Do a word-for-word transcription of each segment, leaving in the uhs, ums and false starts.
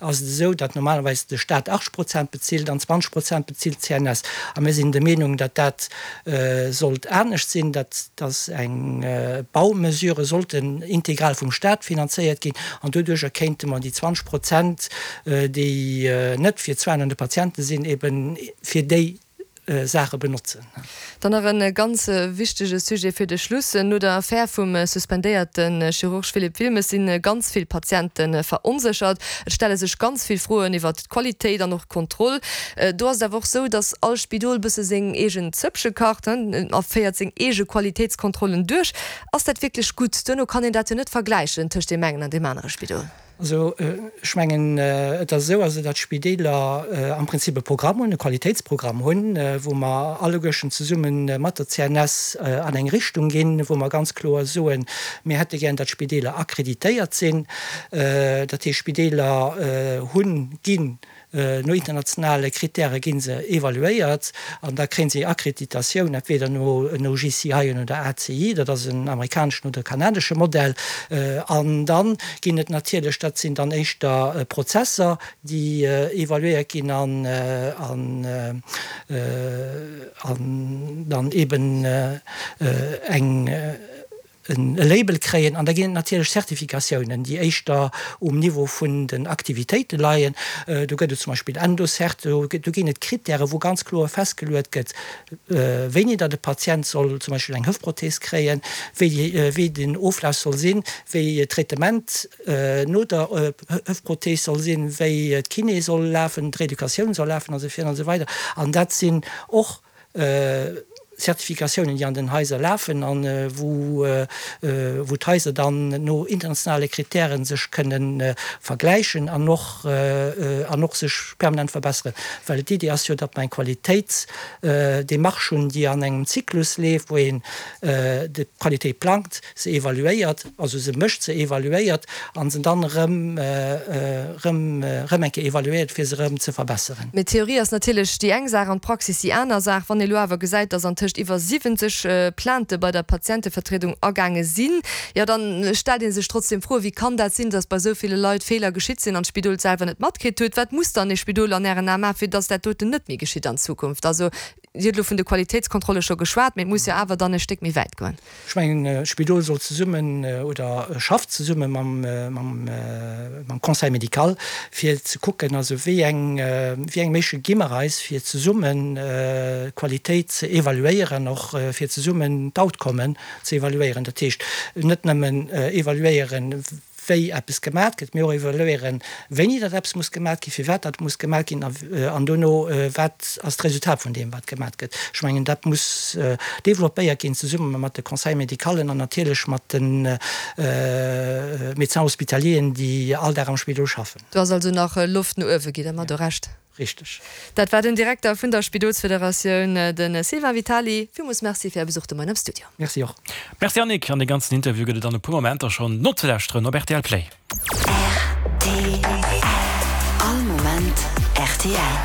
ass et esou, datt normalerweis de Staat achtzeg Prozent bezilt an zwanzeg Prozent bezilt d'CNS. A mir sinn der Meenung, datt dat sollt anescht sinn, datt datt eng Baumesure sollten integral vum Staat finanzéiert ginn an doduerjer kéinte mer déi zwanzeg Prozent, déi net fir d'Soinen un de Patiente sinn, eben fir déi Saache benotzen. Dann nach e ganz wichtege Sujet fir de Schluss. No der Affär vum suspendéierte Chirurg Philippe Wilmes si ganz vill Patiente veronséchert. Et stelle sech ganz vill Froen iwwert d'Qualitéit an och d'Kontroll. Do ass et awer och esou, datt all Spidol bësse seng eegen Zëppche kacht a féiert seng eege Qualitéitskontrollen duerch. Ass dat wierklech gutt? Duerno kann een dat jo net vergläichen tëscht deem engen an deem anere Spidol. Also ech mengen, et ass esou, also datt d'Spideeler am Prinzip e Programm hunn, e Qualitéitsprogramm hunn, wou mer alleguerten zesumme mat der C N S an eng Richtung ginn, wou mer ganz kloer soen, mir hätte gär, datt d'Spideeler akkreditéiert sinn. Dat heescht, d'Spideeler hunn, ginn no internationale Kritäre gi se evaluéiert an da kréie se Akkreditatioun, entweder no no J C I oder A C I, dat ass en amerikaneschen oder kanadesche Modell. An da ginn et natierlech, dat sinn dann éischter Prozesser, déi evaluéiert ginn an an an dann eben eng e Label kréien. An da ginn et natierlech Zertifikatiounen, déi éischter um Niveau vun den Aktivitéite leien. Do gëtt et zum Beispill Endocert, do ginn et Krittäre wou ganz kloer festgeluet gëtt, wéini datt e Patient soll zum Beispill eng Hëftprothees kréien, wéi wéi den Oflaf soll sinn, wéi d'Traitement no der Hëftprothees soll sinn, wéi d'Kiné soll lafen, d'Reeducatioun soll lafen a sou virun a sou weider. An dat sinn och Zertifikatiounen, déi an den Haiser lafen an wou wou d'Haiser dann no internationale Kritären sech kënnen vergläichen an och an och sech permanent verbesseren. Well d'Iddi ass jo, datt mer eng Qualitéitsdemarche hunn, déi an engem Zyklus leeft, wou een d'Qualitéit plangt, se evaluéiert, also se mécht, se evaluéiert an se dann erëm erëm erëm eng Kéier evaluéiert, fir se erëm ze verbesseren. Mee d'Theorie ass natierlech déi eng Saach an d'Praxis déi aner Saach. Wann ee lo awer gesäit, datt antëscht iwwer siwwenzeg Plaintë bei der Patientevertriedung agaange sinn, jo dann stellt ee sech trotzdem Froen, Wéi kann dat sinn, datt bei esou ville Leit Feeler geschitt sinn an d'Spidol et selwer net matkritt huet? Wat muss dann e Spidol an Ären Ae maachen, fir datt dat doten net méi geschitt an Zukunft? Also Dir hutt elo vun de Qualitéitskontrolle scho geschwat, mee et muss jo awer dann e Stéck méi wäit goen. Ech mengen, d'Spidol soll zesummen oder schafft zesumme mam Conseil médical, fir ze kucken, also wéi eng, wéi eng Méiche gi mer eis, fir zesummen d'Qualitéit ze evaluéieren, och fir zesummen d'Outcomen ze evaluéieren. Dat heescht, net nëmmen evaluéieren, wéi eppes gemat gëtt, mee och evaluéieren, wéini datt eppes muss gemat ginn, firwat dat muss gemat ginn an dono, wat ass d'Resultat vun deem, wat gemat gëtt. Ech mengen, dat muss developpéiert ginn zesumme mat de Conseil-médicalen an natierlech mat de Médecins hospitalieren, déi all Dag am Spidol schaffen. Do ass also nach Loft no uewe, gitt Der mer do Recht? Richteg. Dat war den Direkter vun der Spidolsfederatioun, de Sylvain Vitali. Villmools Merci fir Är Besuch de Moien am Studio. Merci och. Merci Annick, an dee ganzen Interview gëtt et an e puer Momenter schonn nozelauschteren op R T L Play. R T L. All Moment R T L.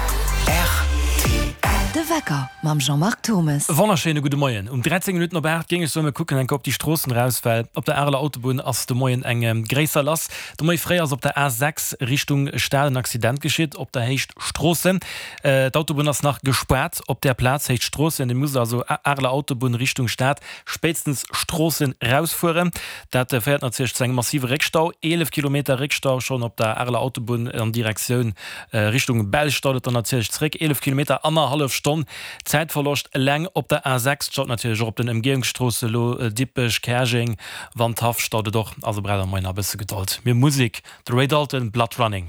R T L. De Wecker mam Jean-Marc Turmes. Wonnerschéine gudde Moien. Um dräizéng Minutten op aacht géing ech soen, mir kucken eng Kéier op déi Stroossen eraus, well op der Areler Autobunn ass de Moien eng gréisser lass. De Moie fréi ass op der A sechs Richtung Stad en Accident geschitt op der Héicht Stroossen. D'Autobunn ass nach gespaart op där Plaz Héicht Stroossen. Dir musst also Areler Autobunn Richtung Stad spéitstens Stroossen rausfueren. Dat féiert natierlech zu engem massive Réckstau, eelef Kilometer Réckstau schonn op der Areler Autobunn an Direktioun Richtung Belsch staut et dann natierlech zréck, eelef Kilometer, annerhallef Stonn Zäitverloscht eleng op der A sechs. Et staut natierlech och op den Ëmgehungsstroosse elo, Dippech, Käerjeng, Wandhaff staut et och. Also braucht der moien nach e bësse Gedold. Mir Musek, de Ray Dalton, Blood Running.